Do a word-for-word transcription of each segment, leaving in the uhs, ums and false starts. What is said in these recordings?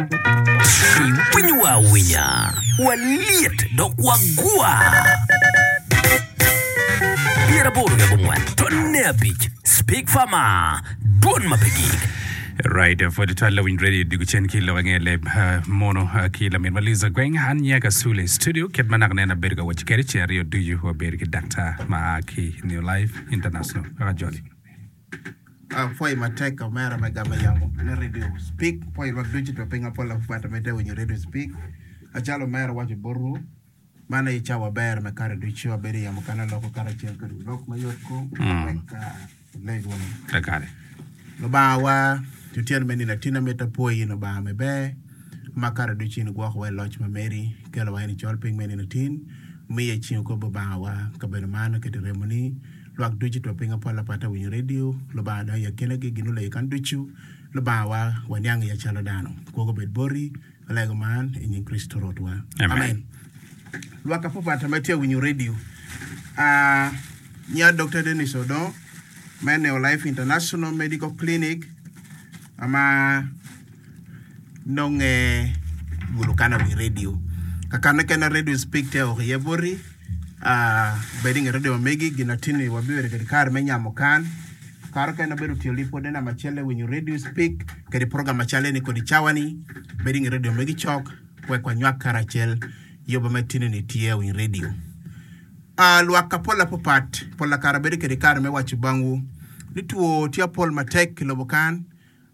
Iwinyowa awinya, walyet dok wagwa. Pyeraboro ki abongwen tonne abic Speak Farmer, dwon ma pe gik. Right, pwod twal lawiny radio diko cen ki lok ange leb uh, mono uh, ki lamin ma Liza Gweng an nyaka Sule studio kit ma naka neno abedo ka waco kede ceng aryo ducu wabedo ki daktar ma a ki New Life International kaka joli. Apwoyi matek omera me gamo yamo me Radio Speak. Apwoyi lwak ducu to piny apol apwata me te winyo Radio Speak. Acalo omera waco botwu, man aye cawa ber me kare ducu abedo i yamo kan aloko karacel kwede lok me yot kom wek aleg wunu. Kakare. Lubanga wa, otyeno me nino atina mito apwoyi in Lubanga me ber ma kare ducu in igwokowa i loc ma meri, ikelowa in i col piny me nino tin, miye ceng okobo Lubanga wa kabedo man oketo remoni. Lwak ducu two piny apol apat awinyo redio, Lubanga dong i akinagi gin oleyo kan ducu. Lubanga wa, waniang iya calo dano. Kwogo obed boti, alego man i nying Kricito Rwotwa. Amen. Lwak apapat ma tye awinyo redio. Ah, nya Dokta Dennis Odong me Neo Life International Medical Clinic ma nonge gulo kan awiny redio. Kakane kene Radio Speak tye oko iye boti. Ah, bed i nge redio ma megi gin atinni wabibedo kede kare me nyamo kan. Kare okene abedo tiyo lipode namba acel me winyo Radio Speak kede program macale ni kodi cawa ni. Bed i nge redio megi cok wek wanywak karacel yoba me tinni tye awiny redio. Ah, lwak apol apapat pol kare abedo kede kare me waco bangwu ni two tye apol matek i lobo kan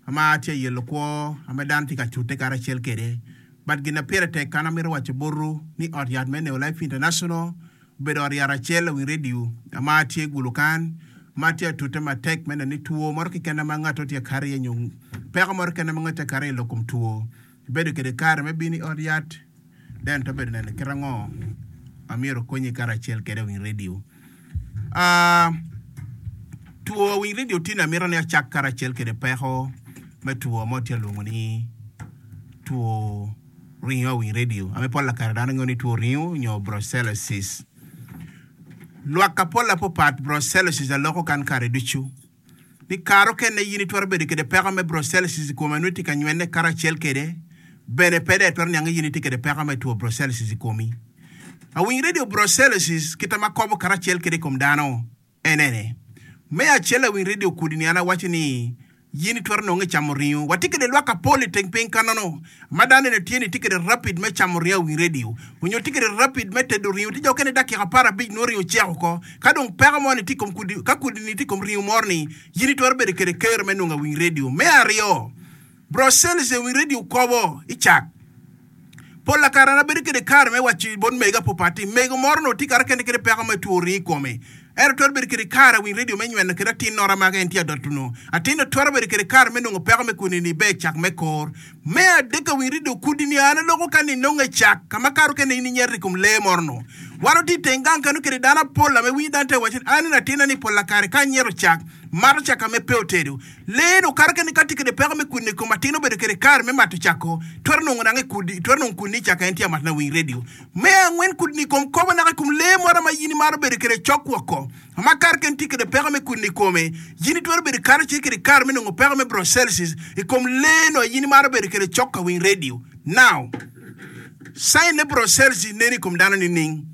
ma tye yelo kwo ame dano tye ka cute karacel kede. But gin na pire tek kan amito waco botwu ni ot yat me Neo Life International obedo ot yat acel awiny redio ma tye gulu kan ma tye atute matek me neno ni two moro keken ma ngato tye kato iye nyo peko moro keken ma ngato tye kato iye lok kom two ibedo kede kare me bino i ot yat then to bedo neno kit ango amyero okonyi karacel kede awiny redio. Ah, two awiny redio tye ni amito ni acak karacel kede peko me two mo tye alwongo ni two ringo awiny redio ame pol kare dano ngeyo ni two ringo nyo brucellosis. Lwak apol apapat brucellosis aloko kan kare ducu ni kare okene in itwero bedo kede peko me brucellosis i kome nongo itye ka nywene karacel kede bene pe dong itwero niang ni in itye kede peko me two brucellosis i komi. Awiny redio brucellosis kita ma kobo karacel kede i kom dano en ene. Me acel awiny redio kudi ni an awaco ni in itwero nongo i camo ringo. Watye kede lwak apol i teng piny kanono ma dano ene tye ni tye kede rapid me camo ringo awiny redio onyo tye kede rapid me tedo ringo tye jo okene dakika apar abic nongo ringo ocek oko. Ka dong peko mo ni tye i kom kudi ka kudi ni tye i kom ringo moro ni in itwero bedo kede kero me nongo awiny redio. Me aryo, brucellosis awiny redio kobo i cak. Pol kare an abedo kede kare me waco bot mego apapat ni mego moro onongo tye kare kene kede peko me two ringo i kome. Ento twero bedo kede kare awiny redio me nyweno kede atin nora ma en tye adoto-nu. Atin-nu twero bedo kede kare me nongo peko me kudi-ni be cak me kor. Me adek awiny redio kudi-ni an aloko ka ni nongo i cak ka ma kare okene in inyeto i kom lee moro-nu. Wan watye i teng gang kanu kede dano apol ame winyo dano te waco ni an atinna ni pol kare ka anyeto cak, mato cak ame pe otedo. Lee-nu kare kene ka tye kede peko me kudi-ni i kom atin obedo kede kare me mato cak-ko, twero nongo nanga i kudi, twero nongo kudi-ni i cak en tye amat na winy redio. Me angwen kudi-ni i kom kobo naka i kom lee moro ma in imaro bedo kede cok woko. Ma kare kene tye kede peko me kudi-ni i kome, in itwero bedo kare ce kede kare me nongo peko me brucellosis i kom lee-nu a in imaro bedo kede cok ka winy redio. Now, sign me brucellosis nen i kom dano nining?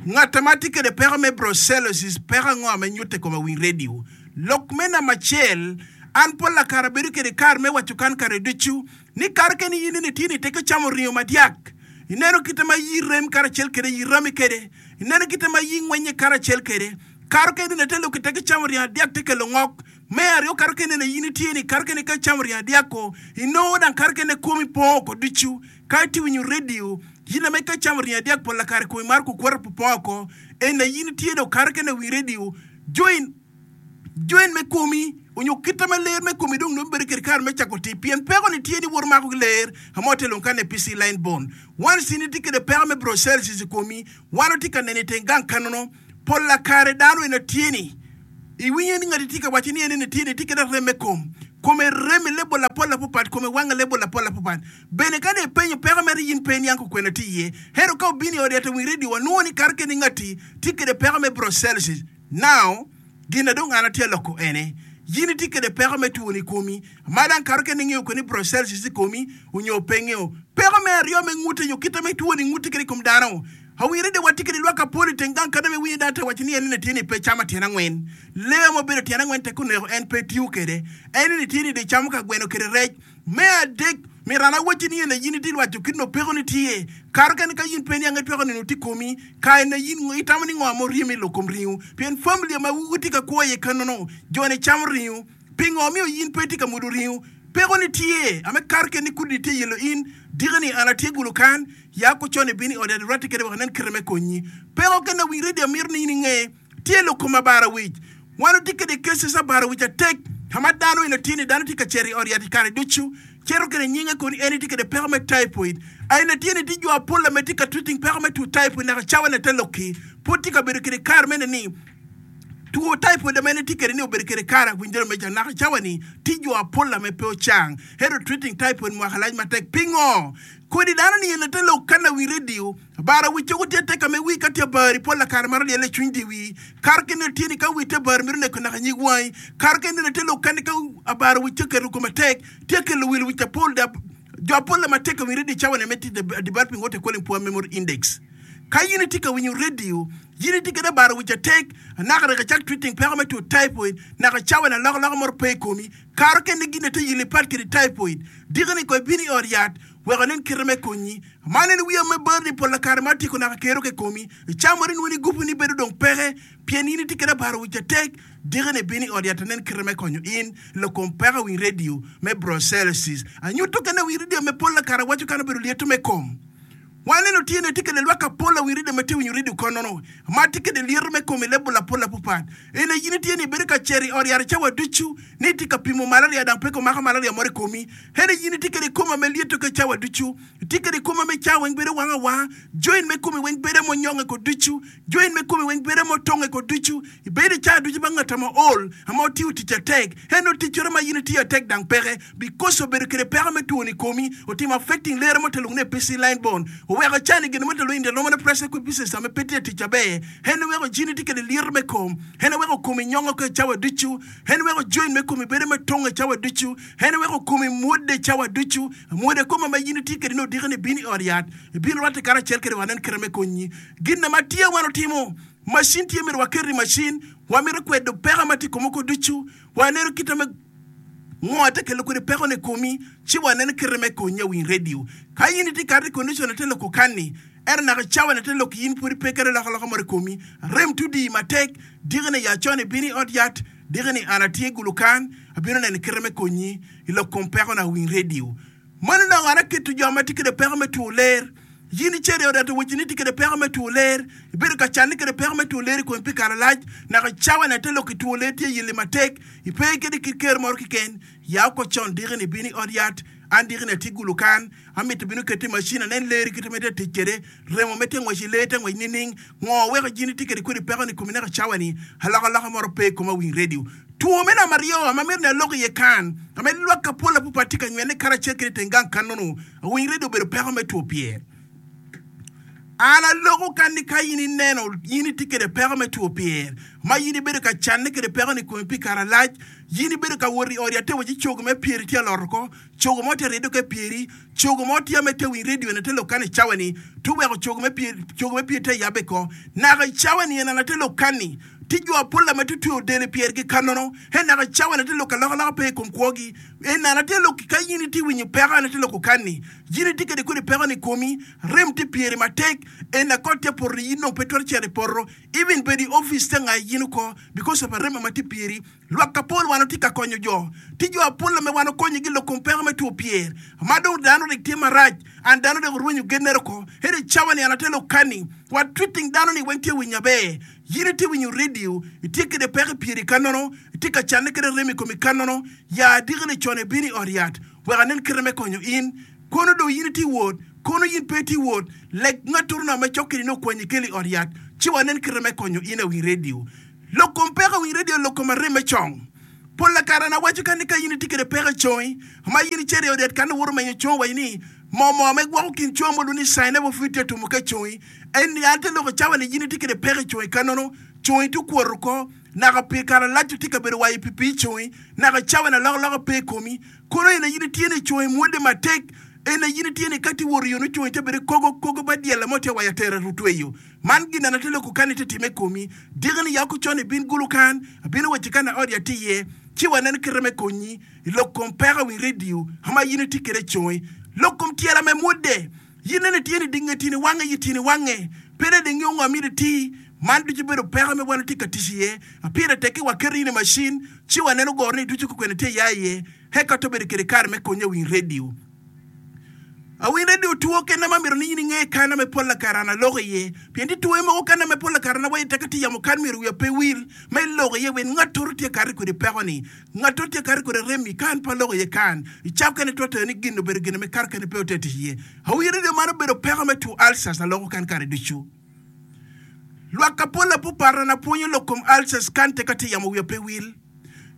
Ngat ma tye kede peko me brucellosis peko ango ma nyutte i kom awiny redio? Lok me namba acel, an pol kare abedo kede kare me waco kan kare ducu ni kare kene in nene tye ni teke camo ringo madyak. Ineno kite ma yi rem karacel kede yi rami kede. Ineno kite ma yi ngwenye karacel kede. Kare kene nene te lok teke camo ringo adyak te kelo ngok. Me aryo kare kene nene in itye ni kare kene ka icamo ringo adyak-ko inongo dang kare kene komi pong oko ducu. Ka itye winyo redio, yin ame ka icamo ringo adyak pol kare komi maro kukwoto pupong oko. Ena yin itye dong kare kene winy redio. Join join me komi onyo kite me ler me komi dong nongo bedo kede kare me cako tic pien peko ni tye ni wot mako ki ler amo te long kane P C line bone once in itye kede peko me brucellosis i komi wan otye ka neno i teng gang kanono pol kare dano ena tye ni iwinyo ni ngati tye ka waco ni en ene tye ni tye kede rem me kom kome rem i lebol apol apapat kome wange lebol apol apapat bene ka dong ipenyo peko mere in pe iniang kukwena tye iye ento ka obino i ot yat owiny radio wanwongo ni kare kene ngati tye kede peko me brucellosis. Now, gin na dong an atye aloko ene, Yin itye kwede peko me two ni komi. Ma dang kato kene ingeyo kwede ni brucellosis i komi onyo pe ingeyo. Peko me aryo me ngute nyo kite me two ni ngute kede i kom dano. Awire de watye kede lwak apol i teng gang kadi me winyo dano te waco ni en ni tye ni pe camo tyen angwen. Lee ma obedo tyen angwen tek oneko en pe tiyo kede. En ni tye ni de camo ka gweno kede rec. Me adek, myero an awacci ni ene yin itye lwaco kit no peko ni tye. Kato kene ka yin pe niang itweko neno tye komi, ka ene yin itamo ni ngo ma oryemi i lok kom ringo. Pien familia ma wutye ka kwo iye kanono, jo ni camo ringo. Pingo omiyo yin pe itye ka mudo ringo? Peko ni tye, ame kato kene ni kudi tye yelo in, diki ni an atye gulo kan, ya ko con ibino i ot yat irwatte kede wek inen kite me konyi. Peko kene awiny radio amito ni in inge, tye lok kom abara wic. Wan watye kede cases abara wic atek, ka ma dano eno tye ni dano tye ka cito i ot yat i kare ducu, cito kede nyinge koni en tye kede peko me typhoid. Aina tye ni tye jo apol ame tye ka treating peko me two typhoid naka cawa ne te lokki. Pud tye ka bedo kede kare mene ni two typhoid ame en tye kede ni obedo kede kare awinjore meja naka cawa ni tye jo apol ame pe ocang. Ento treating typhoid mwaka lac matek. Pingo? Kodi dano ni eno te lok kana wi radio, bara wi cogo tye atek ame wi ka tye abari pol lakare maro lyelle cwiny di wi. Karo kene tye ni ka wi tye abari mito neko naka nyig wangi. Karo kene te lok kani ka abara wi tye keto kome atek, tye kelo wil wic apol da jo apol ame atek wi radio cawa ni ame tye developing what they calling poor memory index. Ka yin itye ka winyo radio, yin itye kede abara wic atek, naka rek icak treating peko me two typhoid, naka cawa ni alokaloka moro pe i komi. Karo kene gin te yili pat kede typhoid. Diki ni ko ibino i ot yat, wek onen kite me konyi. Man en wiya me ber ni pol kare ma atyeko naka kero ke komi. Icamori nweni gupu ni bedo dong peke, pien in itye kede abara wic atek, diki ni ibino i ot yat anen kite me konyo in, lok kom peko winy radio me brucellosis. Anyuto kene winy radio me pol kare awaco kan obedo lyeto me kom. Waneno tye ni tye kede lwak apol awiny radio ma tye winyo radio konono, ma tye kede lyeto me kom i lebol apol apapat. Ene yin tye ni ibedo ka cito i ot yat cawa ducu, ni tye ka pimo malaria dang pe komako malaria moro i komi. Ene yin tye kede koma me lyeto ke cawa ducu, tye kede koma me cawa weng bedo wang awanga, joint me komi weng bedo monyonge ko ducu, joint me komi weng bedo motonge ko ducu, ibedo i cawa ducu ba ngata ma ol, ama otiyo tic atek. Ene oticcoro ma yin tiyo atek dang peke, because obedo kede peko me two ni komi, otimo affecting lere mo telung ne P C line bone. Oweko cani gin mo telu in the normal pressure kwe pieces ame pe tye tic aber. Ene weko jini tye kede lyeto me kom, ene weko komi nyongo ke cawa ducu, ene weko joint me komi bedo me tonge cawa ducu, ene weko komi mwode cawa ducu, mwode koma ma yin tye kede ni odiki ni bino i ot yat, ibino rwatte karacel kede wanen kite me konyi. Gin ma tye wan otimo, machine tye myero waket i machine, wamito kwedo peko ma tye i kom oko ducu, waneno kite me ngo te kelo kede peko ni komi, ci waneno kite me konyi awiny radio. Ka yin itye kati condition te loko kani, ento naka cawa ni te loko yin pudi pe kede lokaloka moro i komi, rem tudi matek, diki ni ya con ibino i ot yat, diki ni an atye gulu kan, abino neno kite me konyi i lok kom peko na awiny radio. Mano dong an aketo jo ma tye kede peko me two ler. Yin icito i ot yat owaci ni tye kede peko me two ler, ibedo ka canne kede peko me two ler i komi pi kare lac, naka cawa ni ate lok i two ler tye yeli matek, ipe kede kit ker moro keken, ya oko con diki ni ibino i ot yat, an diki ni atye gulu kan, amito bino keto i machine anen ler kite me tye tic kede, remo me tye ngwec i ler tye ngwec nining, ngo weko jini tye kede kodi peko ni komi naka cawa ni alokaloka moro pe i kom awiny radio. Two me namba aryo ama mito ni alok iye kan, ame lwak apol apupa tye ka nywene karacel kede teng gang kanono, awiny radio obedo peko me two pyer. An aloko kan ni ka in ineno in itye kede peko me two pyer, ma in ibedo ka canne kede peko ni komi pi kare lac, in ibedo ka wot i ot yat te waci cogo me pyeri tye alot oko, cogo mo tye aredo ke pyeri, cogo mo tye ame te winy radio ene te lok kan i cawa ni, tu weko cogo me pyeri, cogo me pyeri te yabe ko. Naka i cawa ni ene te lok kan ni, ti jo apol ame te tweyo del i pyergi kanono, en naka i cawa ni te lok alokaloka pe i kom kwogi. En naka te lok ka in itye winyo peko ene te loko kan ni, in itye kede kodi peko ni komi, rem tye pyeri matek, en akot tye poto in dong pe twero cito i poto, even bedo i office te nga in oko, because of arem ma tye pyeri. Lwak apol wan otye ka konyo jo, ti jo apol ame wan okonyogi lok kom peko me two pyer, ma dong dano rik tye marac, an dano dong orwenyo gennere oko. Ento i cawa ni an ate lok kani, wa treating dano ni weng tye winyo aber. Yin itye winyo radio, itye kede peko i pyeri kanono, itye ka canne kede rem i komi kanono, ya diki ni con ibino i ot yat, wek anen kite me konyo in. Kono dong yin itye wot, kono yin pe itye wot, lek ngatoro na me cok kede ni okwanyi keli i ot yat, ci wanen kite me konyo in awiny radio. Lok kom peko awiny radio lok kom arem me cong. Pol kare an awaco ka ni ka yin itye kede peko i congi, ma yin icito i ot yat kan iwoto menyo congi waci ni mo mo me gwoko kin congi mo lwongo ni sign up of tye tumo ke congi. En ni an te loko cawa ni yin itye kede peko i congi kanono, Congi tye okwoto oko, naka pi kare malac tye ka bedo wayo pi pii congi, naka cawa na alokaloka pe i komi. Kono en aye in itye ni congi mwodde matek, en aye in itye ni ka tye wot i yo nongo congi tye bedo kogo kogo ba dyella mo tye wayo atere otweyo. Man gin ena te loko kan itye time i komi. Diki ni ya ko con ibin gulu kan, abino wacci kan aot ya tye iye, ci wanen kite me konyi i lok kom peko awiny redio ma in itye kwede congi. Lok kom tyela me mwodde. In nene itye ni dinge tyeni wange yi tyeni wange, pe dong ingeyo ngo myero iti. Man ducu obedo peko me wan watye ka tic iye. Pire tek ki waketo in i macin ci waneno goro ni ducu kukwene tye ya iye. Eka to bedo kede kare me konye awiny redio. Awiny redio two kene ma myero ni in inge kana me pol lakare an aloko iye. Pien tye two mogo kana me pol lakare na waye tek atye yamo kan myero wiya pe wil ma iloko iye wen ngatoro tye kare kwede peko ni. Ngatoro tye kare kwede remi kan pe aloko iye kan. I cawa kene twero tero ni gin obedo gin me kare kene pe ote tic iye. Awiny redio man obedo peko me two ulcers aloko kan kare ducu. Lwak ka pol apuparra na pwonyo lok kom ulcers kan tek atye yamo wiya pe wil.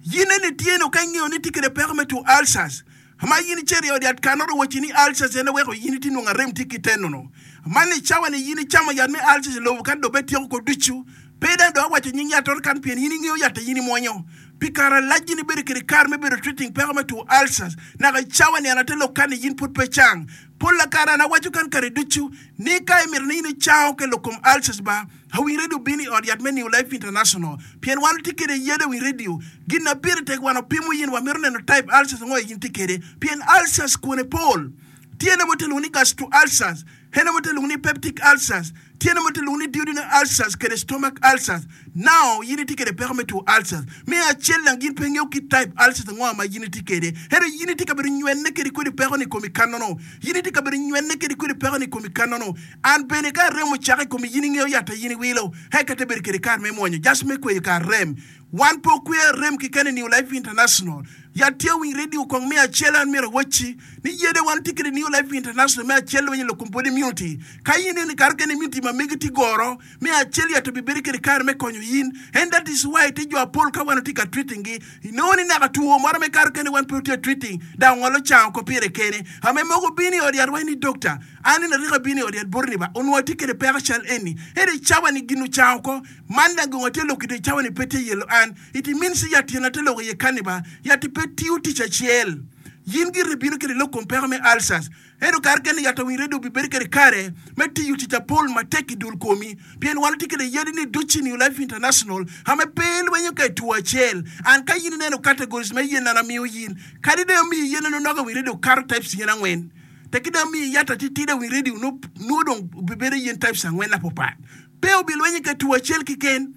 Yin eni tye no ka ingeyo ni itye kede peko me two ulcers. Ma yin icito i od yat kanoro owaci ni ulcers en oweko yin itye nongo arem tye ki tenono. Man i cawa ni yin icamo yat me ulcers i lobo kan dong be tyeko ko ducu. Pe dang dong awaco nying yat oro kan pien yin ingeyo yat a yin imwonyo. Pi kare alac yin ibedo kede kare me bedo treating peko me two ulcers. Naka i cawa ni an ate lok kan ni yin pud pe cang. Pol kare an awaco kan kare ducu ni ka imito ni in icango ke lok kom ulcers ba, awiny radio bino i ot yat me New Life International pien wan watye kede yadi awiny radio. Gin na pire tek wan wapimo yin wamito neno type ulcers ango in tye kede pien ulcers kwone pol. Tyene mo tye lwongo ni gastro ulcers, hene mo tye lwongo ni peptic ulcers, tyene mo tye lwongo ni duodenal ulcers kede stomach ulcers. Now yin itye kede peko me two ulcers. Me acel dang yin pe ingeyo kit type ulcers ango ma yin itye kede. Ento yin itye ka bedo nywene kede kodi peko ni komi kanono. Yin itye ka bedo nywene kede kodi peko ni komi kanono. An bene ka arem ocake i komi yin ingeyo yat a yin iwilo. Eka te bedo kede kare me mwonyo just me kweyo kar rem. Wan pe okweyo arem keken i New Life International. Yat tye winy radio kong me acel an myero awacci ni yede wan tye kede New Life International me acel lweny i lok kom body immunity. Ka yin ineno kare kene immunity ma megi tye goro, me acel yat obibedo kede kare me konyo yin. And that is why tye jo apol ka wan watye ka treating gi, inongo ni naka two moro me kare kene wan pe watye treating dok ongolo cango ko pire kene. Ame mogo bino i ot yat waci ni doctor, an nino arika bino i ot yat boti ni ba onongo atye kede peko cal eni. Ento i cawa ni gin ocango ko. Man dang gongo tye lok i cawa ni pe tye yelo an. It means yat tyena te lok iye kani ba. Yat pe tiyo tic acel. Yin gire bino kede lok kom peko me ulcers. Ento kare kene yat awiny redo obibedo kede kare me tiyo tic apol matek i dul komi. Pien wan watye kede yadi ni duci New Life International ame pe lwenyo ka i two acel. An ka yin ineno categories me yen an amiyo yin. Kadi dong amiyi yen eno nogo awiny redo kato types yen angwen. Tekki dong amiyi yat atitidi awiny redio nwo dong obibedo yen types angwen apopat. Pe obilwenyo ka two acel keken.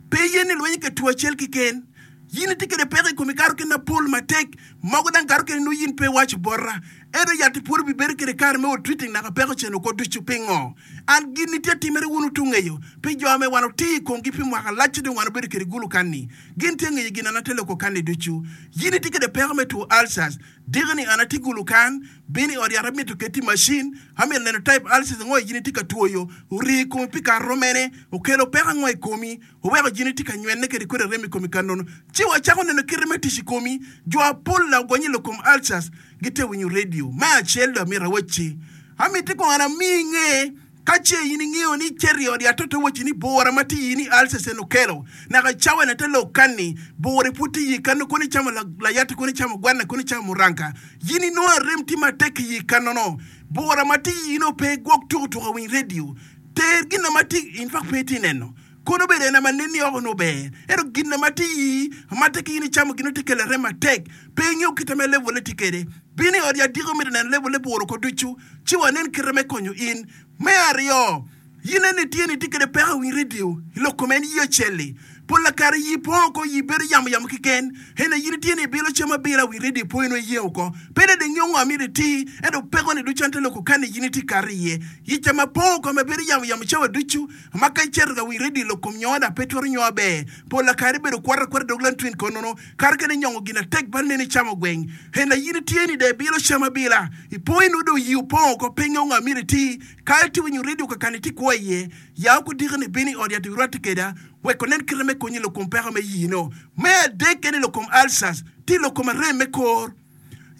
Pe iye ni lwenyo ka two acel keken. Yin itye kede peko i komi kato kene mapol matek, mogo dang kato kene nongo yin pe iwaco bota. Ento yat-ti pwod obibedo kede kare me wot treating naka peko cen oko ducu. Pingo? An gin ni tye atimere wun wutu ngeyo, pi jo ame wan otiyo i komgi pi mwaka lacci dong wan obedo kede gulu kanni. Gin tye ngeyo gin an ate loko kanni ducu. Yin itye kede peko me two ulcers. Diki ni an atye gulu kan, bino i ot yat amito keti i macin, amito neno type ulcers ango i jini tye ka twoyo, orii i komi pi kare rom mene, okelo peko ango i komi, oweko jini tye ka nywene kede kodi arem i komi ka nono. Ci wacako neno kite me tic i komi. Jo apol la ogonyo i lok kom ulcers gitye winyo radio. Me acel dong amito awacci, amiti kong an amii inge Ka ce in ingeyo ni icito i ot yat to te wacci ni bura ma tye iyi ni ulcers en okelo, naka icawa ne te lok kanni, bura pud tye iyi kanno kono icamo layatti kono icamo gwanna kono icamo muranka, yin inongo arem tye matek iyi kannono. Bura ma tye iyi no pe gwok tuko tuko awiny radio. Ter gin ma tye in fact pe itye neno. Kono obedo en ma nenni oko nongo ber, ento gin ma tye iyi ma tek in icamo gin nongo tye kelo arem matek. Pe ingeyo kite me level-le tye kwede. Bino i ot yat diko mito neno level-le bur oko ducu, ci wanen kite me konyo in. Me aryo, in eni itye ni itye kwede peko i winy redio i lok kom en yi acel-li. Pol kare yi pong oko, yi bedo yamo yamo keken. Ento in itye ni ibilo cam abila winy redio po inongo iyengo oko. Pe dong ingeyo ngo amito iti, ento peko-ni ducu en te loko kani in itye kato iye. Yi cam apong oko ma bedo yamo yamo cawa ducu. Ma ka icito ka winy redio lok kom nyoda pe twero nyo aber. Pol kare ibedo kwata akwata dog lantwin konono kare kene nyongo gin atek bal neni icamo gweng. Hena in itye ni dong ibilo cam abila ipo inongo dong yi opong oko pe ingeyo ngo amyero iti. Ka itye winyo redio kakani itye kwo iye, ya okudiki ni bino i ot yat irwatte keda wek onen kite me konyi lok kom peko me yino. Me adek eni lok kom ulcers tye lok kom arem me kor.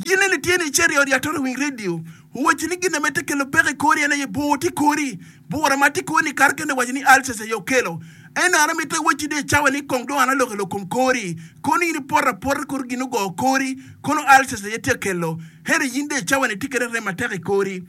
In eni tye ni icito i ot yat oro winy redio, owacci ni gin ma te kelo peko i kori en aye bur tye i kori. Bura ma tye i kori ni kare kene waco ni ulcers aye okelo. Ento an amito iwacci ni i cawa ni kong dong an aloko i lok kom kori, kono in ipoto apota kor gin ogo kori, kono ulcers aye tye ka kelo. Ento in dong i cawa ni itye kede rem matek i kori.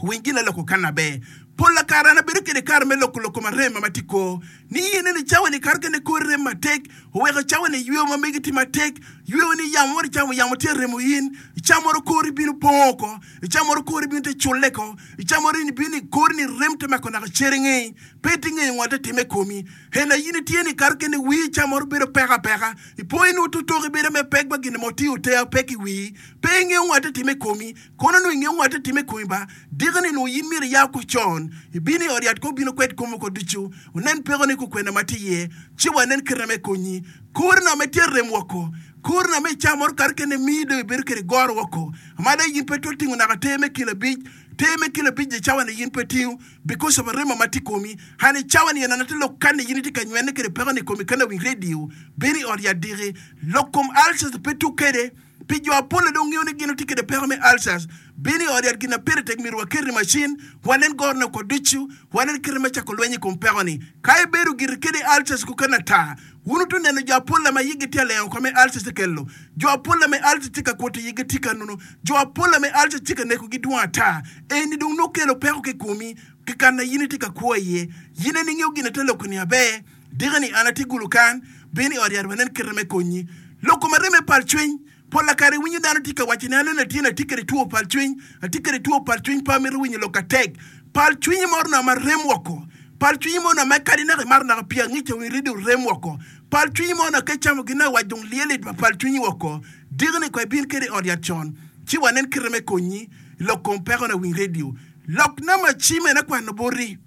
Winy gin aloko kan aber. Pol kare an abedo kede kare me loko lok kom arem ma tye kor. Ni in eni cawa ni kare kene kori rem matek, oweko cawa ni yweyo ma megi tye matek, yweyo ni yamo moro icamo yamo tye remo in, ica moro kori bino pongo oko, ica moro kori bino te culle ko, ica moro in ibino i kori ni rem te mako naka cere ngeyi, pe itye ngeyo ngo te time i komi. Hena in itye ni kare kene wii ica moro bedo peko apeka, ipo in ototoki bedo me pek ba gin mo tye oteya pek i wii, pe ingeyo ngo te time i komi. Kono nongo ingeyo ngo te time i komi ba, diki-ni nongo in myero iya oko con, ibino i ot yat ko obino kwed komi oko ducu, wunen pekoni kukwena ma tye iye, ci wanen kite me konyi. Korina me tye rem woko, korina me ca moro kare kene miyi dong ibedo kede goro woko. Amada in pe twero tingo naka ter me kilo abic, ter me kilo abic i cawa-ni in pe tingo, because of arema ma tye i komi. And i cawa-ni en atye lok kanni in itye ka nywene kede pekoni i komi kany awiny radio, bino i ot yat diki. Lok kom ulcers pe tuk kede. Pi jo apol dong ngeyo ni gin otye kede peko me ulcers, bino i ot yat gin ma pire tek myero waket i macin, wanen gorone oko ducu, wanen kite me cako lweny i kom peko-ni. Ka ibedo giri kede ulcers kukene ata, wun wuto neno jo apol ma yigi tye alengo oko me ulcers kelo. Jo apol me ulcers tye ka kwoto yigi tye ka nunu. Jo apol me ulcers tye ka nekogi dwong ata. Eni dong nongo kelo peko ki komi ki kan ma in itye ka kwo iye. In en ingeyo gin ate loko-ni aber. Diki-ni an atye gulu kan, bino i ot yat wanen kite me konyi. Loko ma reme pal cwiny. Pol kare iwinyo dano tye ka waco ni aneno latin atye kede two pal cwiny, atye kede two pal cwiny pe amito winyo lok atek. Pal cwinyi moro nongo ma rem woko. Pal cwinyi moro nongo ma kadi naka imato naka pii angica wi redio rem woko. Pal cwinyi moro nongo ka icamo gin awac dong lyel i pal cwinyi woko. Diki-ni kong ibin kede i ot yat con ci wanen kite me konyi i lok kom peko na winy redio. Lok namba cim en akwano boti.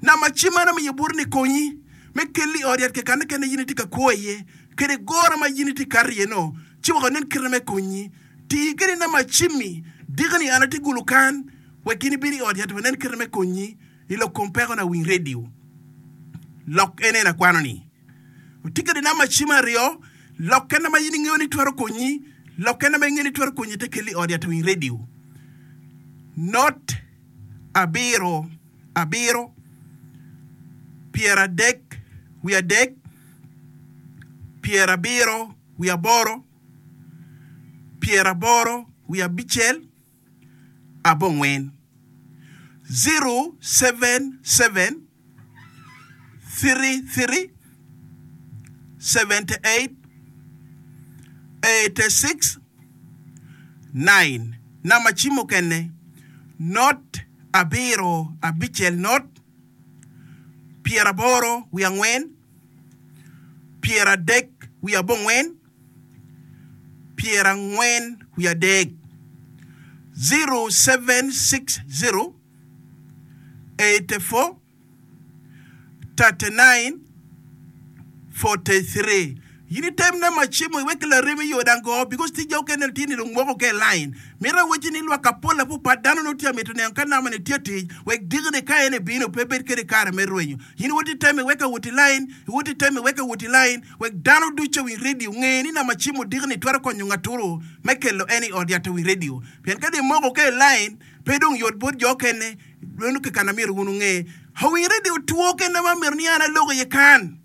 Namba cim man amiyo boti ni konyi me kelli i ot yat kekane kene in itye ka kwo iye. Kede goro ma in itye kato iye no, ci wek onen kite me konyi. Ti kede namba cimmi, diki-ni an atye gulu kan, wek in ibin i ot yat wanen kite me konyi i lok kom peko na winy redio. Lok en en akwano ni. Oti kede namba cim aryo, lok kene ma in ingeyo ni twero konyi, lok kene ma ingeyo ni twero konyi te kelli i ot yat winy redio. Not abiro abiro pyeradek wiye adek pyerabiro wiye aboro, pyeraboro wiye abicel, abongwen. Zero seven seven three three seventy eight eighty six nine. Namba cim mukene, not abiro abicel not pyeraboro wiye angwen. Pyeradek wiye abongwen, pyerangwen wiye adek, zero seven six zero eighty four thirty nine forty three. In item namba cimo iwek laremi yo dango because tija okene litini dong moko ke line. Mito awacci ni lwak apol apupat dano nongo tye amito neno ka namba ni tye tic wek dikine ka en ebino pe bed kede kare me rwenyo. In iwot iteme iwek awot i line, iwot iteme iwek awot i line wek dano ducu owiny radio nge ni namba cimo dikini twero konyo ngaturu me kelo en i ot yat owiny radio. Pien ka dong imoko ke i line pe dong yot bot jo okene meno kekana myero wun wunge. Owiny radio two kene ma myero ni an alok iye kan.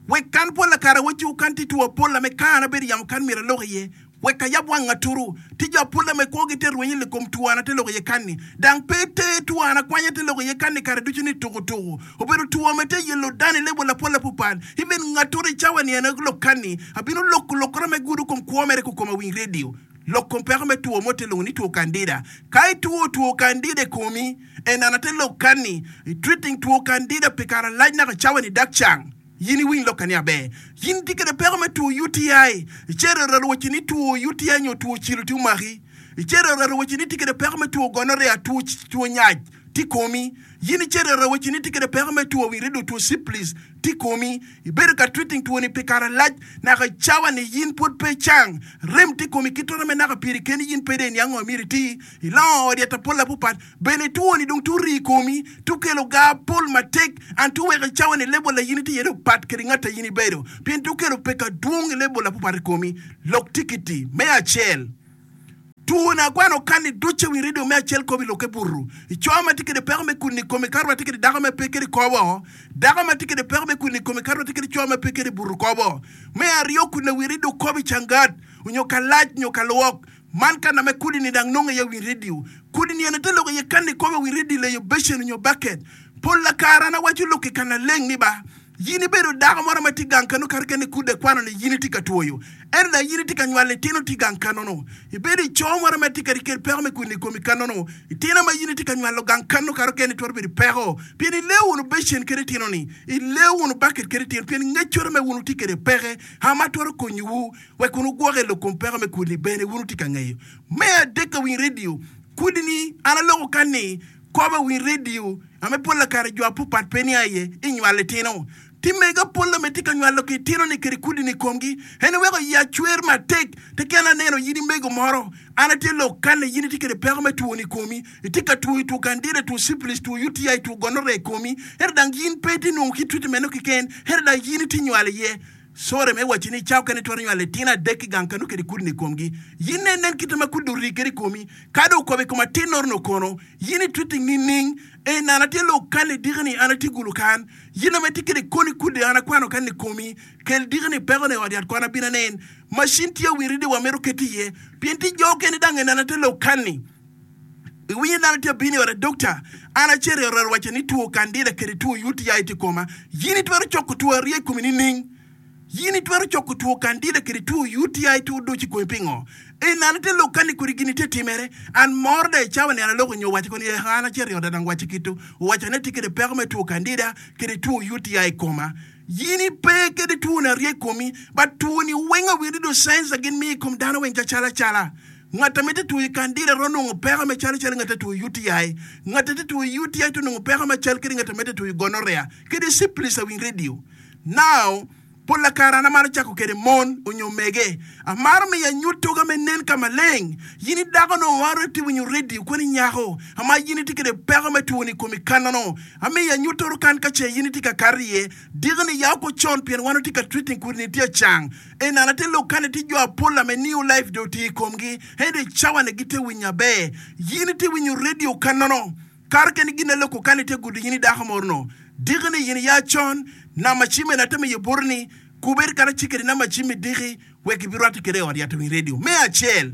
Wek kan pol kare awacciwu kan tye two apol me kan abedo yamo kan myero alok iye. Wek ayab wang aturu. Tye jo apol me kwogi te rwenyo i kom two an ate lok iye kan-ni. Dang pe te two an akwanya te lok iye kan-ni kare ducu ni tuku tuku. Obedo two me te yelo dano i lebol apol apupal. Even ngaturu i cawa ni en lok kan-ni. Abino loko lokora me gudo kom kwo mere kukoma winy radio. Lok kom peko me two mo te lwongo ni two candida. Ka itwo two candida i komi, en an ate lok kan-ni. I treating two candida pi kare alac naka cawa ni dak cang. Yin iwiny lokka ni aber. Yin itye kede peko me two U T I. Icito i raro wacci ni two U T I nyo two cilo tye omaki. Icito i raro wacci ni itye kede peko me two gonorrhea, two two nyac tye i komi. Yin icito i raro wacci ni itye kede peko me two wirido, two syphilis tye i komi. Ibedo ka treating two ni pi kare alac naka i cawa ni yin pwod pe icang. Rem tye i komi ki toto me naka piri keni yin pe dong iniang ngo myero iti. Ilongo odi atapol apupat bene two ni dong turi i komi, tukelo gar pol matek and tuweko i cawa ni level a yin itye iye dong pat kede ngat a yin ibedo pien tukelo peko adwong i level apupat i komi. Lok tikiti me acel. Two na akwano kan ni ducu wi radio me acel kobo i lokke butu. I co ma tye kede peko me kudni i kome kato wa tye kede dako ma pe kede kobo. Dako ma tye kede peko me kudni i kome kato wa tye kede co ma pe kede butu kobo. Me aryo kudni wi radio kobo i cangat onyo kalac nyo kalwok. Man kana me kudni ni dang nongo iye wi radio. Kudni ene te loko iye kan ni kobo wi radio leyo becen onyo baket. Pol lakara an awaco lok i kana leng ni ba. Yin ibedo dako moro ma tye gang kano kar kene kudde kwano ni yin itye ka twoyo. Ento dong yin itye ka nywalo litino tye gang kano-nu. Ibedo i co moro ma tye ka kede peko me kudni i komi kano-nu. Itino ma yin itye ka nywalo gang kano kar kene twero bedo peko. Pien ileo wunu becen kede itino-ni. Ileo wunu baket kede itino. Pien ngecoro me wunu tye kede peke. Ha ma twero konyowu wek wunu gwoke lok kom peko me kudni bene wunu tye ka ngeyo. Me adek ka winy radio, kudni an aloko kan ni kobo winy radio ame pol lakare jo apupat pe ni aye inywalo itino. Ti mega pol ame tye ka nywalo ki itino ni kede kudni i komgi. En weko ya cwer matek teken aneno yin imego moro. An atye lok kan ni yin itye kede peko me two ni i komi. Itye ka two two candida, two syphilis, two U T I, two gonorrhea i komi. Ento dang yin pe itye nongo ki treatment no keken. Ento dang yin itye nywalo iye. Sore me waco ni cawa kene twero nywalo litino adek ki gang kano kede kudni i komgi. Yin ne nen kite ma kudni ori kede i komi. Ka dong okobo i kom atin noro kono, yin i treating nining? E an atye lok kan ni diki ni an atye gulu kan. Yin ame tye kede koni kudni an akwano kan ni komi. Kel diki ni peko ni ot yat kwan abino anen. Macin tye wiri di wamito ket iye. Pien ti jo kene dang en an atye lok kan ni. Iwinyo dano tye abino i ot dokta. An acito i ot waco ni two candida kede two U T I tye koma. Yin itwero coko two aryo i komi nining? Yin itwero coko two candida kede two U T I two doci komi pingo? En an atye lok kan ni kodi gini tye timere. An moro da i cawa ni an aloko nyo waco koni eh an acito i ot dang waco kito. Owaco ni atye kede peko me two candida kede two U T I koma. Yin ipe kede two ni aryo i komi, but two ni weng awiri do signs gin miyo i kom dano weng cacala cala. Ngat ame tye two candida ro nongo peko me calo calo ngat a two U T I. Ngat a tye two U T I to nongo peko ma cal kede ngat ame tye two gonorrhea. Kede syphilis awiny radio. Now, pol lakara an amaro cako kede mon onyo mege. Amaro miyo anyut toga me nen ka maleng. Yin idako no waro ti winyo radio kweni nyako. Ama yin itye kede peko me two ni komi kanono. Amiyo anyut toro kan ka ce yin itye ka kato iye. Diki ni yaw ko con pien wan otye ka treating kudni tye acang. En an atye lok kan itye jo apol ame new life do tye i komgi. Ento i cawa ni gitye winyo aber. Yin itye winyo radio kanono. Kar keni gin aloko kan itye gudo yin idako moro no. Diki ni yin ya con, namba cime na temo ye boro ni, kuber kata cikeri namba cime diki, wek ibirwate kede i ot yat wi radio. Me acel,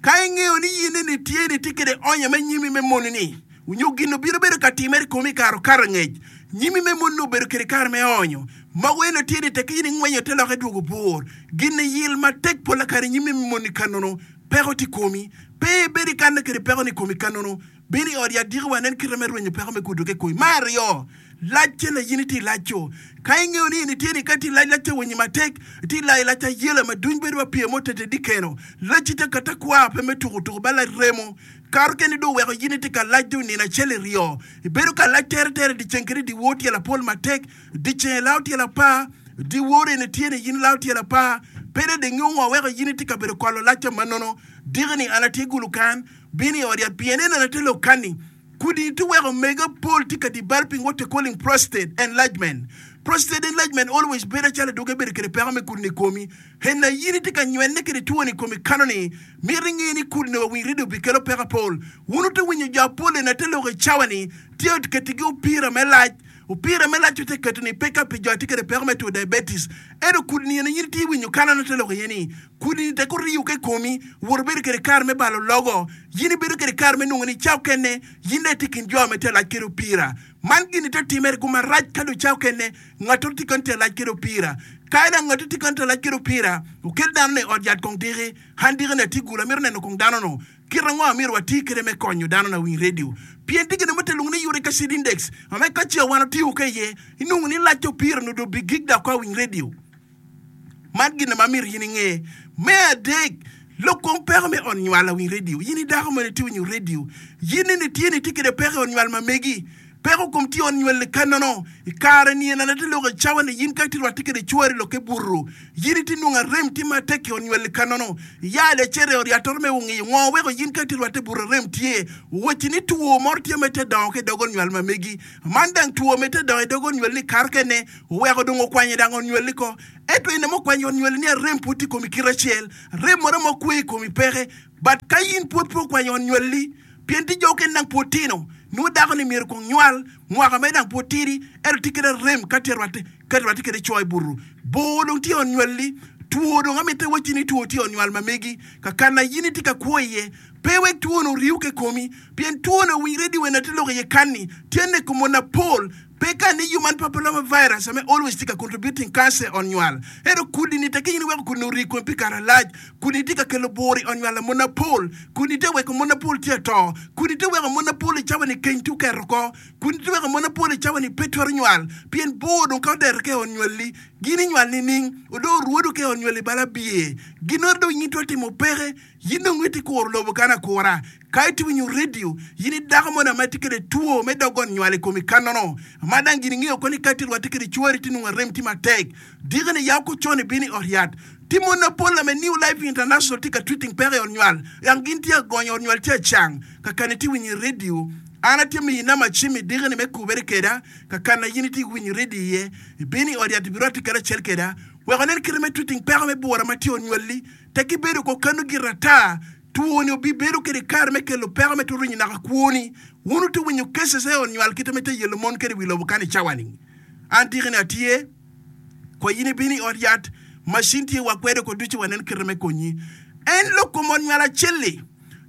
ka ing'eyo ni yin ni tye ni tye kede onya me nyimi me moni ni, onyo gin obiro bedo ka timere i komi kare okato angec, nyimi me moni ni obedo kede kare me onyo. Mogo eno tye ni tek in ingwenyo te loke dwogo bur. Gin ni yil matek pol kare nyimi me moni kanono, peko ti komi. Pe ibed i kanne kede peko ni komi kanono. Bino i ot yat diki wa nen kite me rwenyo peko me kudo ke komi. Me aryo, lac ce na yin itye i lac-co. Ka ing'eyo ni in itye ni ka itye i lac, lac te winyi matek, itye i lac, lac ayela ma duny bedo ma pye mo tete di keno. Lacci te kata kwa pe me tuko tuko ba lac remo. Karo keni do weko yin itye ka lac do nino acel iryo. Ibedo ka lac tere tere di ceng kede di wor tyelo apol matek, di ceng ilao tyelo apar, di wor eni tye ni yin ilao tyelo apar. Pede di ng'eyo ngo weko yin itye ka bedo kolo lac ca manono. Diki ni an atye gulu kan, bino i ot yat pien en an atye lok kan ni. Kudi ti weko mega pol tye ka developing what they calling prostate enlargement. Prostate enlargement always bedo acalo adwogi bedo kede peko me kudni i komi. En na yin itye ka nywenne kede twoni i komi kano ni, mito inge ni kudni wa winy radio bikelo peko apol. Wun ote winyo jo apol en ate lok i cawa ni, tye oketigi opira me lac. Opira me lac ote keto ni pe ka pi jo atye kede peko me two diabetes. Ento kudni en yin itye winyo kano an ate lok iye ni, kudni tek oriyo ke komi, wot obedo kede kare me balo logo. Yin ibedo kede kare me nongo ni cawa kene, yin dong itye kin jo me te lac kede opira. Man gini te timere guma rac ka dong cawa kene, ngato tye kan te lac kede opira. Ka ena ngato tye kan te lac kede opira, okel dano ni ot yat kong diki, han diki ni atye gulu, amito neno kong dano no. Kit ango amito wati kede me konyo dano na winy radio. Pien tye gine mo te luongo ni uric acid index, ame ka ce wan otiyo ke iye, inongo ni lac opira no do bigik dok ka winy radio. Man gine ma myero in inge. Me adek, lok kom peko me ot nywal awiny radio. In idako mene tye winyo radio. Yin ni tye ni tye kede peko i ot nywal ma megi. Peko kom tye ot nywal kanono. I kare ni en anate lok cawa ni yin ka itye rwatte kede cwari lokke buto. Yin itye nongo arem tye matek i ot nywal kanono. Ya lecere ot yat me ongiyo ngo weko yin ka itye rwatte buto arem tye. Wacci ni two moro tye ma te dongo ki i dog ot nywal ma megi. Man dang two ma te dongo i dog ot nywal ni kar kene oweko dong okwanyo dang ot nywal-li ko. Ento in ema okwanyo ot nywal ni arem pud tye i komi kite acel. Arem moro ma okwe i komi peke. But ka in pud pe okwanyo ot nywal-li, pien tye jo okene dang pud tino, nongo dako ni myero kong nywal, mwaka mere dang pud tidi, ento tye kede arem ka tye rwatte ka rwatte kede co i buto. Bor dong tye i ot nywal-li, two dong amite wacci ni two tye i ot nywal ma megi, kakana in itye ka kwo iye, pe wek two-nu oriw ki komi, pien two-nu owiny redio wene tye lok iye kanni, tye neko mon apol. Pe ka ni human papilloma virus ame always tye ka contributing cancer i ot nywal. Ento kudi ni tekki in iweko kudi ni ori i komi pi kare alac. Kudi ni tye ka kelo bur i ot nywal a mon apol. Kudi ni tye weko mon apol tye ato. Kudi ni tye weko mon apol i cawa ni keny tye oketo oko. Kudi ni tye weko mon apol i cawa ni pe twero nywal. Pien bur dong ka odeto ki i ot nywalli, gin inywal nining? Odong orwodo ki i ot nywalli bala biye. Ginoro dong in itwero timo peke. In dong itye kuro lobo kan akura. Ka itye winyo redio, in i dako mo ma itye kwede two me dog ot nywal i komi kanono. Ma dang gin ingeyo ko ni ka itye rwatte kwede cwari ti nongo arem tye matek. Diki ni yaw ko con ibino i ot yat. Tye mon mapol ame New Life International tye ka treating peko i ot nywal. Yang gin tye agonyo ot nywal tye acang. Kakana itye winyo i redio, an atye miyi namba cim i diki ni me kubere keda. Kakana in itye winyo redio iye, ibino i ot yat ibirwatte karacel keda. Wek onen kite me treating peko me bura ma tye i ot nywalli. Tek ibedo ko kano gire ata, twoni obibedo kede kare me kelo peko me turo nyo naka kwoni. Wun wutye winyo cases e onywal kite me te yelo mon kede wi lobo kan i cawa ni. An tiki ni atye kwa in ibino i ot yat, machine tye wa kwede ko ducu wanen kite me konyi. En lok kom onywal acel-li,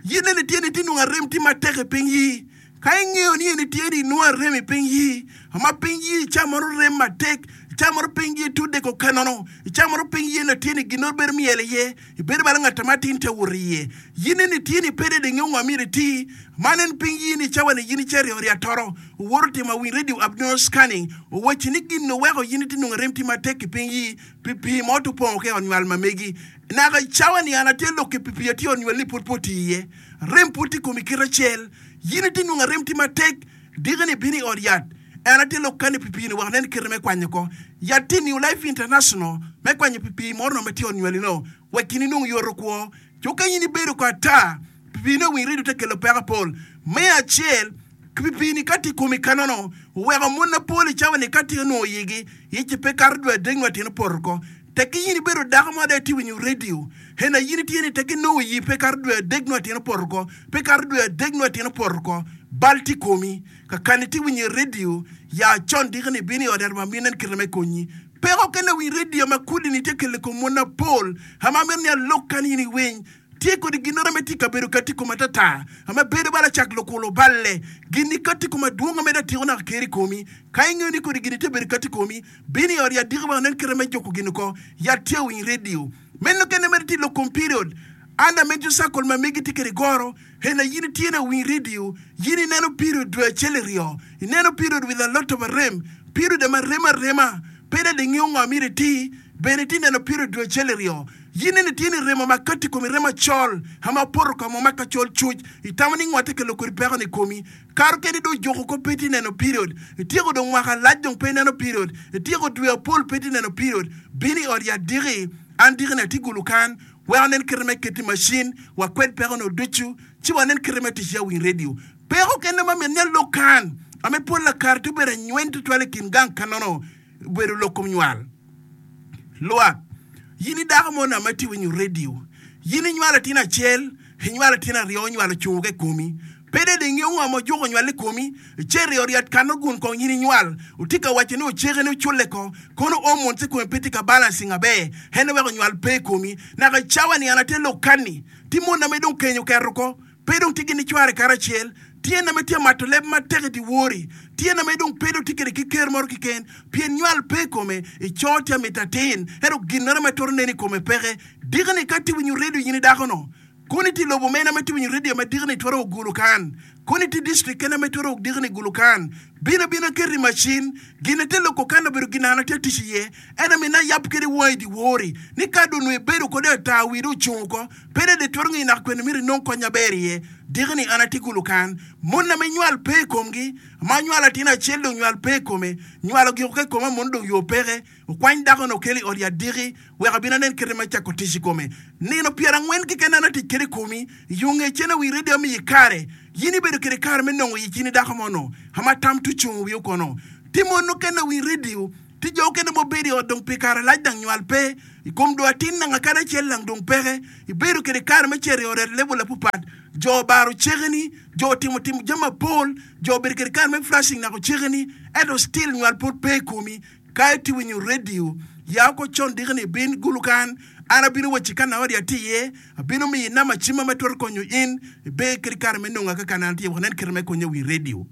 yin nene tye ni itye nongo arem tye matek i piny yi. Ka ingeyo ni en itye ni inongo arem i piny yi, ma piny yi ca moro rem matek, ca moro piny yi tudde ko kanono, ca moro piny yi eno tye ni ginoro bedo myel iye, ibedo balo ngat ma tin te woto iye. Yin eni tye ni pe dede ingeyo ngo myero iti, man en piny yi ni cawa ni yin icito i ot yat toro, owoto timo awiny radio abdominal scanning, owacci ni gin oweko yin itye nongo arem tye matek i piny yi pi pii mo to pongo ki i ot nywal ma megi. Naka i cawa ni an atye lok ki pi pii atye i ot nywal ni pud pe oti iye. Rem pud tye i komi kite acel. Yin itye nongo arem tye matek, diki-ni ibino i ot yat. En atye lok kani pi pii-ni wek nen kite me kwanyo ko. Yat tye New Life International me kwanyo pi pii moro no ma tye i ot nywali-no wek in inong yoto kwo. Co ka in ibedo ko ata, pi pii-ni owiny redio te kelo peko apol. Me acel, pi pii-ni ka tye i komi kanono, oweko mon mapol i cawa-ni ka tye onongo iyigi, ic pe kato dwe adek nyo atyeno poto oko. Tekki in ibedo dako mo ada itye winyo redio, hena in itye ni tekki nongo iyi pe kato dwe adek nyo atyeno poto oko, pe kato dwe adek nyo atyeno poto oko, bal tye i komi. Kakani itye winyo i redio, ya con diki ni ibino i ot yat ma minen kite me konyi. Peko kene winy redio ma kudi ni tye kelo i kom mon mapol, ama amito ni alok kany in iwiny. Tye kodi ginnoro me tye kabedo kati kom atata, ma bedo bala cak lukulo balle. Gin-ni kati kom adwong ma medo atiko naka ker i komi. Ka ingeyo ni kodi gin-ni tye bedo kati komi, bin i ot yat diki wek inen kite me juko gin oko. Yat tye owiny redio. Meno kene mere tye lok kom period. Under menstrual cycle ma megi tye kede goro, hena yin itye na owiny redio, yin ineno period dwe acel iryo, ineno period with a lot of arem, period ma rem arema, pe dong ingeyo ngo myero iti, bene itye neno period dwe acel iryo. Yin nene tye ni remo ma kati komi remo acol ma opoto ka mo ma ka col cuc, itamo ni ngo tye kelo kodi peko ni komi? Kato keni dong ojuko ko pe itye neno period, ityeko dong mwaka alac dong pe ineno period, ityeko dwe apol pe itye neno period, bin i ot yat diki, an diki ni atye gulu kan, wek anen kite me keti macin, wakwed peko no ducu, ci wanen kite me tic ya winy radio. Peko kene ma myero ni alok kan, ame pol lakare tye obedo anyweny tutwal i kin gang kanono, obedo lok kom nywal. Lwak, yin i dako mo nama itye winyo redio, yin inywalo atin acel, inywalo atin aryo, nywalo ocungo ki i komi. Pe dong ingeyo ngo ma ojuko nywal i komi, icito i ot yat kano gun kong yin inywal. Otye ka waco ni oceke ni oculle ko, kono hormones i komi pe tye ka balancing aber, en weko nywal pe i komi. Naka i cawa ni an atye lok kani, tye mon ame dong keny oketo ko, Pe dong tye gin cware karacel, tye name tye mato leb matek i dyewor-ri, tye name dong pe dong tye kwede ki ker moro keken, pien nywal pe i kome, i co tye amito atin, ento ginnoro ma twero nen i kome peke. Diki-ni ka itye winyo redio in i dako-nu, kono itye i lobo mene ma itye winyo redio ma diki-ni twero o gulu kan? Kono itye i distrik kene ma itwero o diki-ni gulu kan? Bin abina ket i macin, gin ite loko kan obedo gin an atye tic iye, en aye mina ayab kwede wangi i dyewor-ri, ni ka dong onongo ibedo kode ata wii dong ocung oko, Pe dong itwero ngeyo naka kwene myero inong kony maber iye. Diki-ni an atye kulu kan, monna me nywal pe i komgi, ma anywalo atin acel dong nywal pe i kome, nywalo giko ka i koma mono dong yo peke. Okwany dako-ni okel i ot yat diki, wek abin anen kite me cako tic i kome. Nino pyerangwen keken an atic kwede i komi, yo nge cen awi redio amiyi kare. Yin ibedo kwede kare me nongo ic in i dako mono, ama tam tucungo wi okono. Ti mon mukene awi redio. Tye jo okene ma obedo i ot dong pi kare lac dang nywal pe i kom dong atin nanga kadi acel lang dong peke. Ibedo kede kare me cito i ot et level apupat. Jo obaro cekeni, jo otimo timo jami mapol, jo obedo kede kare me flashing naka ocekeni, ento still nywal pud pe i komi. Ka itye winyo radio, ya oko con diki ni ibin gulu kan, an abino wacci ka na ot atye iye, abino miyi namba cimma ma twero konyo in iber kede kare me nonga ka kana an atye iye wek inen kite me konye wi radio.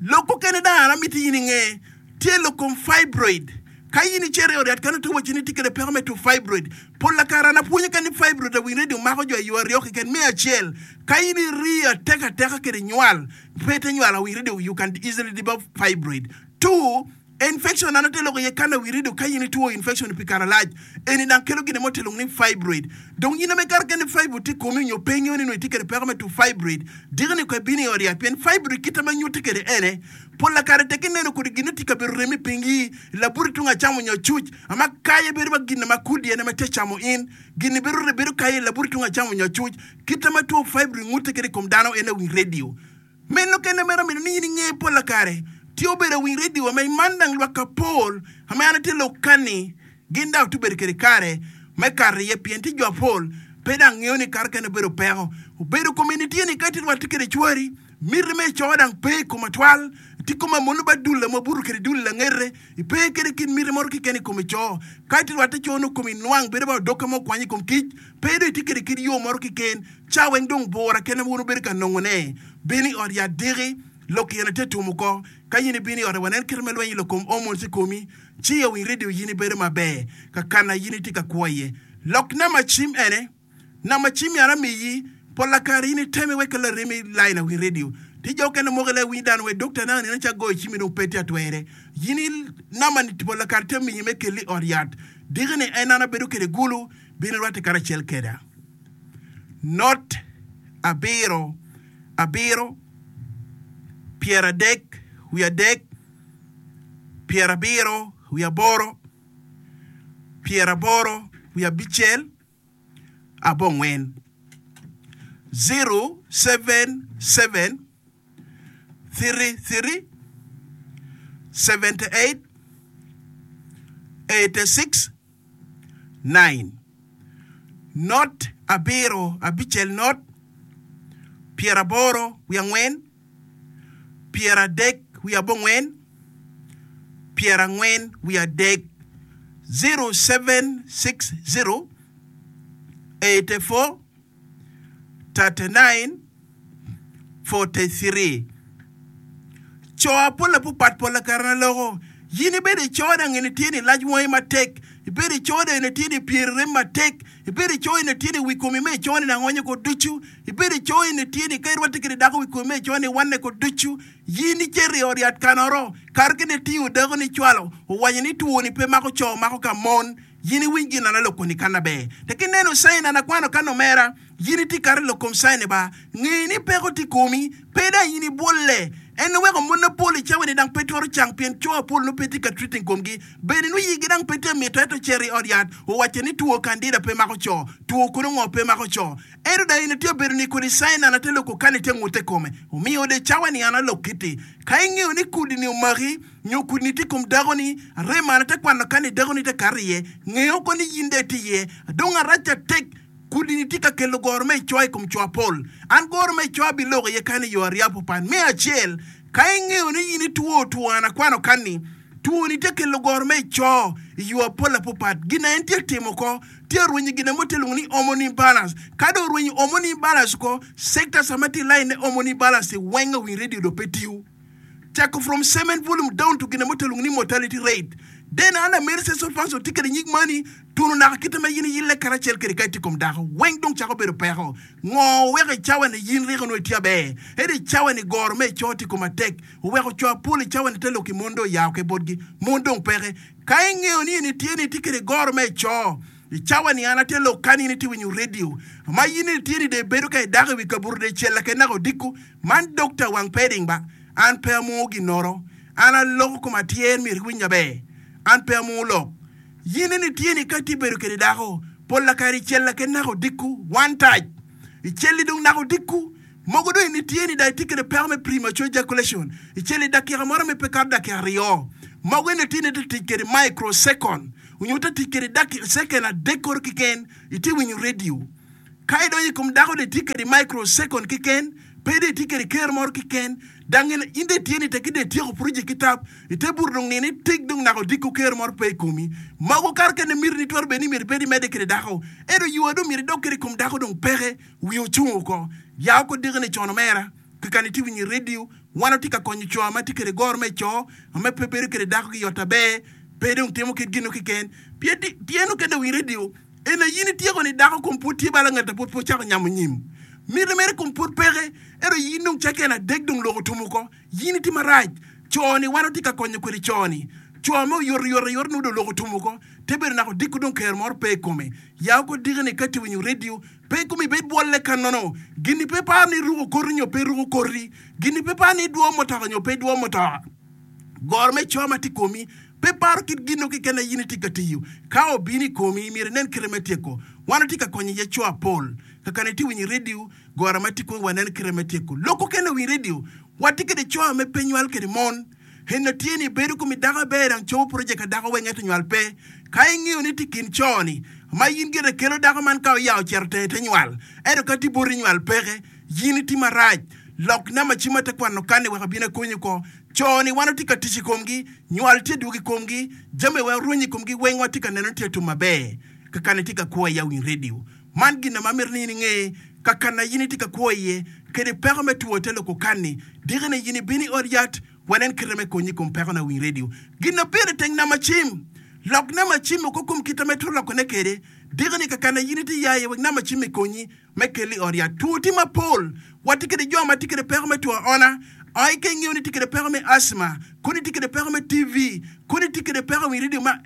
Lok mukene dong an amiti in inge tye lok kom fibroid. Ka in icito i ot yat kano tye wacci ni itye kwede peko me two fibroid. Pol lakare an apwonyo kany ni fibroid awiny radio mako jo i yo aryo keken. Me acel, ka in iri atek ateka kwede nywal, pe ite nywal awiny radio you can easily develop fibroid. Two, Infection an ate loko iye kan awi rido ka in itwo infection pi kare lac eni dang kelo gine mo te lwongo ni fibroid dong in ame kare kene fibroid tye komi onyo pe ingeyo ni nongo itye kede peko me two fibroid diki ni ko ibino i ot yat pien fibroid kite ma nyute kede ene pol kare tek ineno kodi gine tye kabedo rem i ping yi laburi tung acam onyo acuc ama kaye bedo ma gine ma kudi ene ma tye camo in gini bedo bedo kaye laburi tung acam onyo acuc kite ma two fibroid ngute kede i kom dano ene wi radio. Meno kene mere omito ni in inge pola kare tye obedo awiny radio ame man dang lwak apol ame an atye lok kani gin dang ote bedo kede kare me kato iye pien tye jo apol pe dang ngeyo ni kare kene obedo peko obedo kome ni tye ni ka itye rwate kede cwari miti me ico dang pe i kom atwal tye koma mono ba dul ame obuto kede dul langete ipe kede kit miti moro keken i kom ico ka itye rwate co nongo komi nwang bedo ba odoka mo okwanyo i kom kic pe dong itye kede kit yo moro keken Ca weng dong bura kene wun wubedo ka nongone. Bin i ot yat diki, lok yen ate tum oko. Ka in ibino i ote wanen kite me lweny i lok kom hormones i komi, ci i owiny radio yin ibedo maber ka kana yin itye ka kwo iye. Lok namba cim ene, Namba cim myero amiyi, pola kare in iteme wek ka laremi line awiny radio. Tye jo okene mogo ile winyo dano wek dokta nanga nino ca goyo cimi dong pe tye atwere. Yin i namba ni pola kare tye miyi me keli i ot yat diki ni en an abedo kede gulu, bin irwate karacel keda. Not abiro abiro pyeradek wiye adek pyerabiro wiye aboro pyeraboro wiye abicel abongwen zero seven seven three three seventy eight eighty six nine Not abiro abicel not pyeraboro wiye angwen pyeradek wiye abongwen pyerangwen wiye adek zero seven six zero eighty four thirty nine forty three Co apol apupat pol akare na loko yin ibedo ico dang eni tye ni lac wangi matek ibedo ico dang eni tye ni pyeri rem matek ibedo ico eni tye ni wi komi me ico ni dang onyo ko ducu ibedo ico eni tye ni ka irwatte kede dako wi komi me ico ni wanne ko ducu yin icito i ot yat kanoro kare kene itiyo dako ni cwalo owaco ni two ni pe mako co mako ka mon yin iwiny gin na loko ni kana ber tek ineno cain an akwano kan omera Yin itye kare lok kom caine ba, nge ni peko tye i komi, pe dang in ibwolle. En oweko mon mapol i cawa ni dang pe twero cang pien co apol nongo pe tye ka treating komgi. Bene nongo yigi dang pe tye mito ento ocito i ot yat owacce ni two candida pe mako co, two kono ngo pe mako co. Ento dang in itye bedo ni kodi caine an ate loko kani tye ngute kome. Omiyo de cawa ni an alok kiti. Ka ingeyo ni kudi ni omaki nyo kudi ni tye i kom dako ni, arem an ate kwano kani dako ni te kato iye, nge oko ni yin de itye iye. Adong arac atek. Kudi-ni tye ka kelo goro me icoa i kom co apol. An goro me icoa abiloko iye kany i yo aryo apupan. Me acel, ka ingeyo ni in itwo two an akwano kany-ni, two-ni tye ka kelo goro me ico i yo apol apupat. Gin na en tye ka timo oko, tye ka rwenyo gin mo tye lwongo ni hormone imbalance. Ka dong orwenyo hormone imbalance oko, sectors ma tye i line ne hormone imbalance-ci weng owiny radio dong pe tiyo. Cako from semen volume down to gine mo te lwongo ni mortality rate. Then an ameri sexual function tye kede nyig mani tunu naka kite ma yin iyille karacel kede ka itye kom dako weng dong cako bedo peko. Ngo weko i cawa ni yin ryeko nongo itye aber ento i cawa ni goro me ico tye kom atek oweko co apol i cawa ni te lok i mon dong oyao ke botgi mon dong peke. Ka ingeyo ni in itye ni itye kede goro me ico I cawa ni an atye lok kan in itye winyo radio. Ma in itye ni dong ibedo ka idako i wi kabuto dong icella kede naka odiko. Man dokta wang peding ba. An pe amungo ginoro. An aloko kom atyer myero iwiny aber. An pe amungo lok. Yin eni itye ni ka itye bedo kede dako, pol lakare icella kede naka odiko, one touch. Icelli dong naka odiko. Mogo dong in itye ni dong itye kede peko me premature ejaculation. Icelli dakika moro me pe kato dakika aryo. Mogo eni itye ni ite tic kede microsecond. Onyo ite tic kede dakika second adek koro keken itye winyo radio. Ka idonyo i kom dako dong itye kede microsecond keken, pe dong itye kede ker moro keken. Dang in in dong itye ni tek dong ityeko project ki tap, ite buto dong nino itik dong naka odiko ker moro pe i komi. Mogo kare kene miti ni twero bedo ni myero ibed imedde kede dako. Ento yo dong myero idok kede i kom dako dong peke, wiye ocung oko. Ya oko diki ni con omera, kikano itye winyo i radio, wan watye ka konyo co ma tye kede goro me co, ma pe bedo kede dako ki yot aber, pe dong timo kit gino keken. Pien tyen okene winyo radio, en aye in ityeko ni dako kom pud tye bala ngat a pud pe ocako nyamo nyim. Miti mere kom pud peke, ento in dong cake en adek dong lok otum oko. In itye marac. Co ni wan watye ka konyo kwede co ni. Co me oyot oyot ayot nongo dong lok otum oko. Te bedo naka odiko dong ker moro pe i kome. Ya oko diki ni ka itye winyo radio, pe komi ibed bwolle ka nono. Gini pe paro ni iruko koti nyo pe iruko koti. Gini pe paro ni idwo mutoka nyo pe idwo mutoka. Goro me co ma tye i komi pe paro kit gin keken ma in itye ka tiyo. Ka obino i komi, myero inen kite me tyeko. Wan watye ka konyo iye co apol. Kakana itye winyo i radio, goro ma tye i komi wanen kite me tyeko. Lok okene winyo radio, watye kede co me pe nywal kede mon. Eno tye ni bedo komi dako aber dang cobo project ka dako weng ento nywal pe. Ka ingeyo ni tye kin co ni ma in gire kelo dako man ka oya ocito tenge te nywal. Ento ka tye boti nywal peke, yin itye marac. Lok namba cim ma te kwano kani wek abin akonyi oko. Co ni wan watye ka tic i komgi, nywal tye dwogo i komgi, jami weng rwenyo i komgi weng watye ka neno ni tye atum maber. Kakana itye ka kwo iye awiny radio. Man gin ma amito ni in inge, kakana in itye ka kwo iye, kede peko me two te loko kani. Diki ni in ibino i ot yat, wanen kite me konyi i kom peko na awiny radio. Gin na pire teng namba cim. Lok namba cim oko kom kite ma itwero lokone kede. Diki ni kakana in itye ya iye wek namba cim ikonyi me kelo i ot yat. Two tye mapol. Watye kede jo ma tye kede peko me two aona. Ai ka ingeyo ni tye kede peko me asthma, koni tye kede peko me T V, koni tye kede peko i radio ma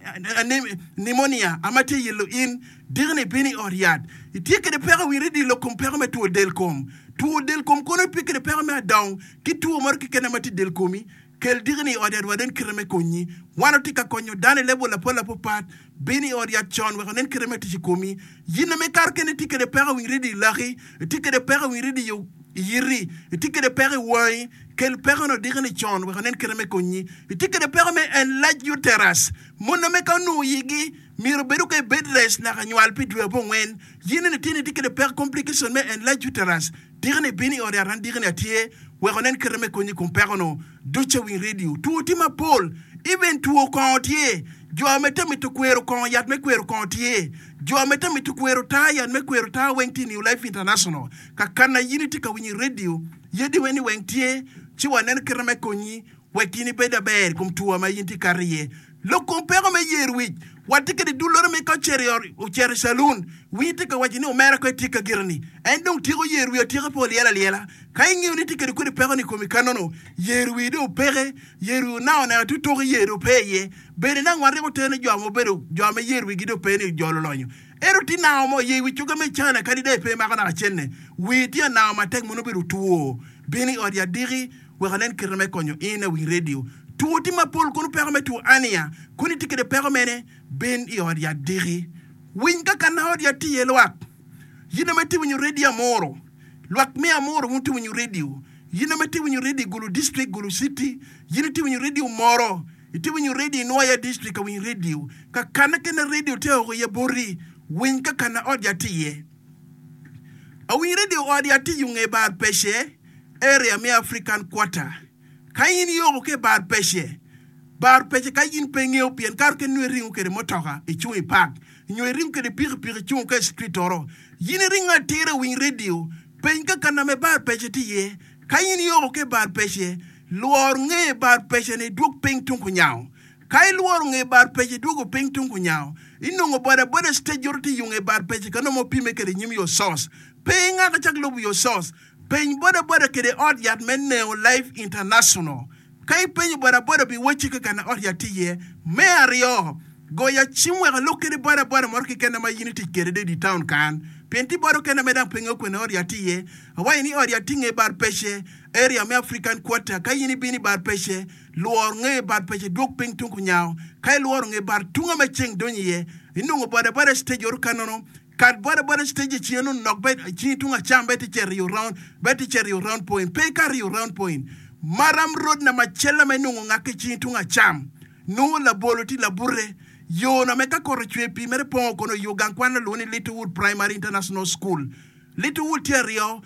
pneumonia ama tye yelo in, diki ni ibino i ot yat. Itye kede peko i radio lok kom peko me two del kom. Two del kom kono itye kede peko me adong ki two moro keken ma tye del komi. Kel diki ni i ot yat wanen kite me konyi. Wan watye ka konyo dano i level apol apapat. Bin i ot yat con wek onen kite me tic i komi. Yin ame kare kene itye kede peko i radio i laki, itye kede peko i radio i yiti, itye kede peko i wangi, kel peko no diki ni con wek onen kite me konyi. Itye kede peko me enlarged uterus, mon ame ka onongo yigi myero obedo ka i bed rest naka nywal pi dwe abongwen. Yin eni tye ni itye kede peko complication me enlarged uterus, diki ni bin i ot yat an diki ni atye wek onen kite me konyi i kom peko no. Duca winy radio, two tye mapol, even two kongo tye. Jo ame te mito kwero kongo yat me kwero kongo tye. Jo ame te mito kwero taa yat me kwero taa weng tye i New Life International. Kakana yin itye ka winyo i radio, yadi weni weng tye, ci wanen kite me konyi wek in ibed aber i kom two ma in tye kato iye. Lok kom peko me yer wic, watye kede dullore me ka ocito i ot, ocito i calun, winyi tye ka waco ni omera ko etye ka gire ni en dong tyeko yer wiye atyeka pe olyel alyela. Ka ingeyo ni tye kede kodi peko ni i komi kanono, yer wiyi dong opeke, yer wiyi onao neno ti toki yer dong pe iye. Bene nang wan ryeko tero ni jo ma obedo jo ma yer wigi dong pe ni jo lulonyo. Ento tye nao mo yer wi cuka me cana kadi dong pe mako naka cenne. Wiyi tye anao matek mono obedo two. Bin i ot yat diki wek anen kite me konyo in awiny radio. Two tye mapol kono peko me two ania kono itye kede peko mene bin i ot yat diki. Winy kaka na ot yat tye iye lwak. Yin ame tye winyo radio amuro. Lwak me amuro wun tye winyo radio. Yin ame tye winyo radio i Gulu district, Gulu city. Yin itye winyo radio moro. Itye winyo radio i Nwoya district ka winyo radio. Kakana kene radio tye aoko iye boti. Winy kakana ot yat tye iye. Awiny radio ot yat tye yunge bar pece area me African Quarter. Ka in ioko ki i bar pece, bar pece ka in pe ingeyo pien kare kene nongo iringo kede mutoka icung i park nyo iringo kede pikipiki icung ka i street oro. Yin iringo atira i winy radio, peny ka kana me bar pece tye iye. Ka in ioko ki i bar pece, lwor nge bar pece ni idwog piny tung kunyango. Ka ilworo nge bar pece idwogo piny tung kunyango, inongo boda boda stage oro tye i yunge bar pece ka nongo opime kede nyim your source. Pe ingaka cak lubo your source. Peny boda boda kede ot yat me Neo Life International. Ka ipenyo boda boda bi wacci ka kana ot yat tye iye. Me aryo, Goya cim wek alok kede boda boda moro keken ma in itic kede di town kan. Pien ti boda okene me dang pingo kwene ot yat iye. Awaco ni ot yat tye nge bar pece area me African Quarter ka in ibino i bar pece lwor nge bar pece dwog piny tung kunyawo ka ilworo nge bar tunga me ceng donyo iye inongo boda boda stage oro kanono kat boda boda stage i cinge nongo nok bet cingi tung acam bet icito i round bet icito i round point pe ikato i round point maram road na macella ma inongo ngak ki cingi tung acam nongo labolo tye labute yo na me ka kot ocwe pii mere pongo kono yo gang kwan alwongo ni Littlewood Primary International School Littlewood tye aryo